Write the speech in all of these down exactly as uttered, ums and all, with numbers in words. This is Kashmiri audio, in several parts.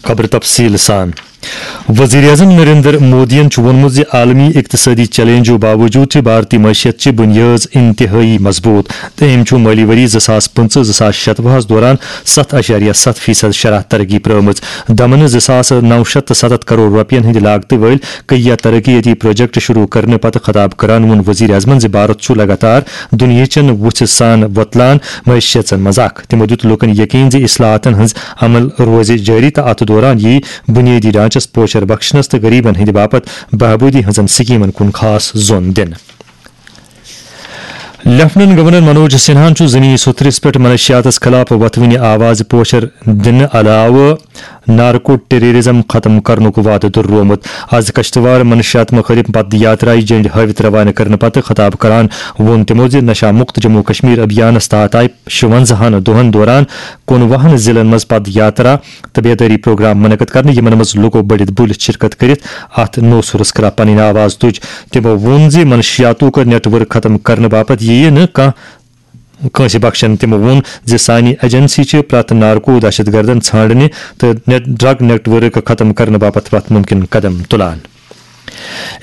خبر تفصیل سان۔ وزیر اعظم نریندر مودیَن چھُ ووٚنمُت زِ عالمی اقتصٲدی چیلنجو باوجود چھِ بھارتی معیشت چہِ بُنیٲژ انتہٲئی مضبوط تہٕ أمۍ چھُ مٲلی ؤری زٕ ساس پٕنٛژٕہ زٕ ساس شتوُہَس دوران ستھ اعشاریہ ستھ فیصد شرح ترقی پرٲومٕژ۔ دمن زٕ ساس نو شتھ تہٕ ستتھ کرور رۄپین ہٕنٛدِ لاگتہٕ وٲلۍ کیٚنٛہہ ترقیتی پروجیکٹ شروع کرنہٕ پتہٕ خطاب کران ووٚن وزیر اعظمن زِ بھارت چھُ لگاتار دُنیاہچٮ۪ن وُژھِ سان وۄتلان معیشژن منٛز اکھ۔ تِمو دیُت لوٗکن یقین زِ اصلاحاتن ہٕنٛز عمل روزِ جٲری تہٕ اتھ دوران یِیہِ بُنیٲدی ڈھانچس پوچھر بخشنس تہٕ غریبن ہٕنٛدِ باپتھ بہبوٗدی ہٕنٛزن سکیمن کُن خاص زون دِنہٕ۔ لیفٹیننٹ گورنر منوج سنہاہن چھُ زمینی سوٚتھرِس پٮ۪ٹھ منشیاتس خلاف وۄتھوٕنہِ آوازٕ پوچھر دِنہٕ علاوٕ نارکو ٹیررزم ختم کرنُک وعدٕ دۄہرومُت۔ از کشتواڑ منشیات مخٲلف پد یاترایہِ جنڈ ہٲوِتھ روانہٕ کرنہٕ پتہٕ خطاب کران ووٚن تِمو زِ نشہ مکت جموں کشمیر ابھیانس تحت آیہِ شُونزاہن دۄہن دوران کُنوُہن ضلعن منٛز پد یاترا تہٕ بیدٲری پروگرام منعقد کرنہٕ، یِمن منٛز لوٗکو بٔڑِتھ بُلِتھ شرکت کٔرِتھ اتھ نوسُرس خلاف پنٕنۍ آواز تُج۔ تِمو ووٚن زِ منشیاتُک نیٹ ورک ختم کرنہٕ باپتھ یِیہِ نہٕ کانٛہہ کٲنٛسہِ بخشن۔ تِمو ووٚن زِ سانہِ ایجنسی چھِ پرٛٮ۪تھ نارکو دہشت گردن ژھانڈنہِ تہٕ نیٹ، ڈرگ نیٹ ورک ختم کرنہٕ باپتھ پرٛٮ۪تھ مُمکِن قدم تُلان۔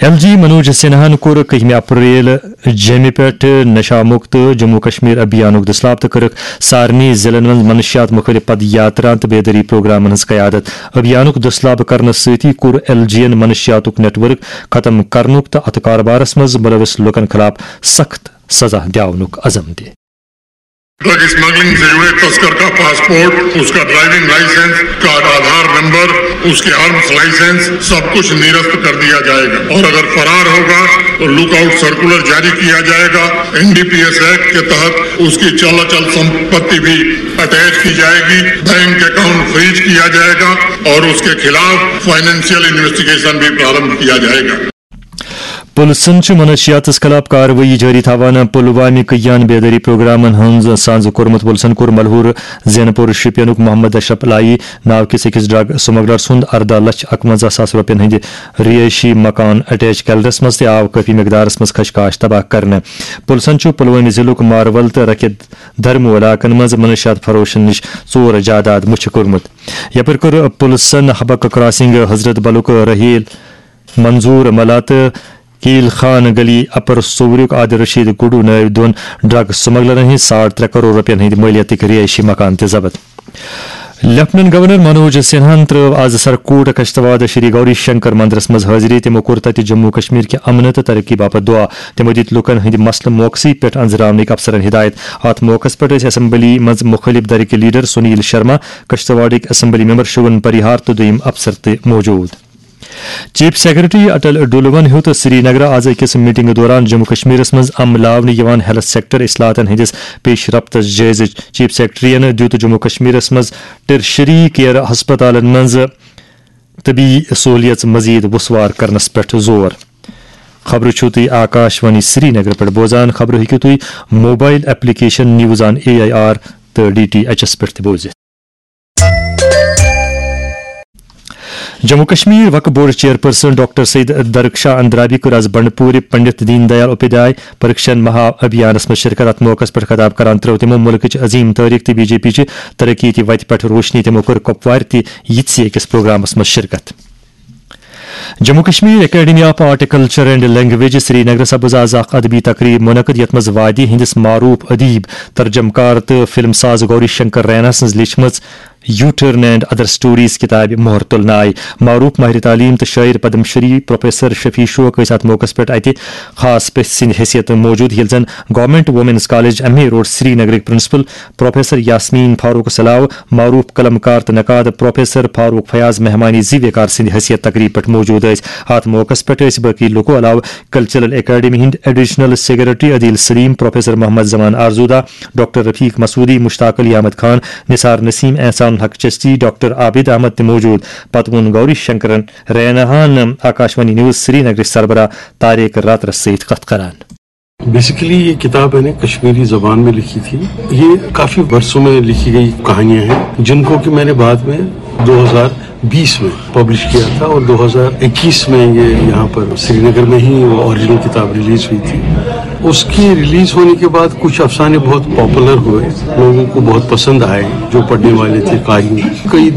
ایل جی منوج سنہاہن کوٚر کٔہمہِ اپریل جیٚمہِ پٮ۪ٹھ نشہ مکت جموں کشمیر ابھیانُک دٔسلاب تہٕ کٔرٕکھ سارنٕے ضلعن منٛز منشیات مُخٲلف پد یاترا تہٕ بیدٲری پروگرامن ہٕنٛز قیادت۔ ابھیانُک دٔسلاب کرنس سۭتی کوٚر ایل جی ین منشیاتُک نیٹ ورک ختم کرنُک تہٕ اتھ کاربارس منٛز ملوث لوٗکن خلاف سخت سزا دِیاونُک عزم تہِ۔ ड्रग स्मगलिंग से जुड़े तस्कर का पासपोर्ट, उसका ड्राइविंग लाइसेंस, उसका आधार नंबर, उसके आर्म्स लाइसेंस, सब कुछ निरस्त कर दिया जाएगा। और अगर फरार होगा तो लुकआउट सर्कुलर जारी किया जाएगा। एनडीपीएस एक्ट के तहत उसकी चल अचल संपत्ति भी अटैच की जाएगी, बैंक अकाउंट फ्रीज किया जाएगा और उसके खिलाफ फाइनेंशियल इन्वेस्टिगेशन भी प्रारंभ किया जाएगा। پُلسن چھِ منشیاتس خلاف کاروٲیی جٲری تھاوان۔ پلوامہِ کیان بیدٲری پروگرامن ہٕنٛز سانزٕ کوٚرمُت۔ پُلسن کوٚر ملہور زینپور شوپینُک محمد اشرف لائی ناو کِس أکِس ڈرگ سمگلر سُنٛد ارداہ لچھ اکونزہ ساس رۄپین ہٕنٛدِ رہٲیشی مکان اٹیچ کیلرس منٛز تہِ آو کٲفی مقدارس منٛز خشکاش تباہ کرنہٕ۔ پُلسن چھُ پلوامہِ ضلعُک مارول تہٕ رکھِ دھرمو علاقن منٛز منشیات فروشن نِش ژور جائیداد مُچھِ کوٚرمُت۔ یپٲرۍ کوٚر پُلسن حبک کراسنگ حضرت بلُک رحیل منظور ملا تہٕ کیل خان گلی اپر صووریُک عادل رشید گڈو نٲوۍ دۄن ڈرگ سمگلرن ہٕنٛز ساڑ ترٛےٚ کرور رۄپین ہٕنٛدۍ مٲلیتٕکۍ رہٲیشی مکان تہِ ضبط۔ لیفٹیننٹ گورنر منوج سنہاہن ترٲو از سرکوٹ کشتواڑ شری گوری شنکر مندرس منٛز حٲضری۔ تِمو کوٚر تتہِ جموں کشمیر کہِ امنہٕ تہٕ ترقی باپتھ دعا۔ تِمو دِتۍ لوٗکن ہٕنٛدِ مسلہٕ موقعسٕے پٮ۪ٹھ انزراونٕکۍ افسرن ہدایت۔ اتھ موقعس پٮ۪ٹھ ٲسۍ اسمبلی منٛز مُخٲلف دھرٕکۍ لیڈر سنیل شرما، کشتواڑٕکۍ اسمبلی ممبر شوون پریہار تہٕ دوٚیِم افسر تہِ موجود۔ چیف سیکرٹری اٹل ڈولون ہیوٚت سری نگر آز أکِس میٹنگ دوران جموں کشمیرس منٛز عملاونہٕ یِوان ہیلتھ سیکٹر اصلاحاتن ہٕنٛدِس پیش رفتس جٲیزٕ۔ چیف سیکرٹریَن دیُت جموں کشمیرس منٛز ٹرشری کیئر ہسپتالن منٛز طبی سہولیژ مزید وسوار کرنس پٮ۪ٹھ زور۔ خبرٕ چھِو تُہۍ آکاش وانی سری نگر پٮ۪ٹھ بوزان۔ خبرٕ ہیٚکِو تُہۍ mobile application news on A I R تہٕ ڈی ٹی ایچ ایس پٮ۪ٹھ تہِ بوٗزِتھ۔ جموں کشمیر وقف board chairperson doctor Syed Darakhshan Andrabi کٔر از بنڈپورِ پنڈت دین دیال اپادھیائے پرکشن مہا ابھیانس منٛز شرکت۔ اتھ موقعس پٮ۪ٹھ خطاب کران ترٲو تِمو ملکٕچ عظیم تٲریخ تہٕ بی جے پی چہِ ترقی تہِ وتہِ پٮ۪ٹھ روشنی۔ تِمو کٔر کپوارِ تہِ یِتھۍ أکِس پروگرامس منٛز شرکت۔ Jammu Kashmir academy of art culture and language Srinagar سپز آز اکھ ادبی تقریب منعقد، یتھ منٛز وادی ہندس معروف ادیب، ترجم کار تہٕ فلم ساز گوری شنکر رینا سٕنٛز لیچھمٕژ U turn and other stories کتابہِ مۄہر تُلنہٕ آیہِ۔ معروف ماہر تعلیم تہٕ شٲعر پدم شری پروفیسر شفیع شوق ٲسۍ اتھ موقعس پٮ۪ٹھ اتہِ خاص پژھِ سٕنٛدِ حیثیت موجود، ییٚلہِ زن government women's college M A road سری نگرٕکۍ پرنسپل پروفیسر یاسمین فاروق علاوٕ معروف قلم کار تہٕ نقاد پروفیسر فاروق فیاض مہمانِ زی ویکار سٕنٛدِ حیثیت تقریب پٮ۪ٹھ موجود ٲسۍ۔ اتھ موقعس پٮ۪ٹھ ٲسۍ باقی لوٗکو علاوٕ کلچرل اکیڈمی ہٕنٛدۍ ایڈیشنل سیکرٹری عدیل سلیم، پروفیسر محمد زمان آرزودا، ڈاکٹر رفیق مسعودی، مشتاق علی احمد خان، نثار نسیم، احسان الحق چشتی، ڈاکٹر عابد احمد تہِ موجود۔ پتہٕ ووٚن گوری شنکرن ریناہن آکاشوانی نیوز سری نگرٕچ سربراہ طارق راترس سۭتۍ کتھ کران۔ بیسیکلی یہ کتاب میں نے کشمیری زبان میں لکھی تھی۔ یہ کافی برسوں میں لکھی گئی کہانیاں ہیں، جن کو کہ میں نے بعد میں دو ہزار بیس میں پبلش کیا تھا اور دو ہزار اکیس میں یہ یہاں پر سری نگر میں ہی وہ اوریجنل کتاب ریلیز ہوئی تھی۔ اس کے ریلیز ہونے کے بعد کچھ افسانے بہت پاپولر ہوئے، لوگوں کو بہت پسند آئے، جو پڑھنے والے تھے قاری۔ کئی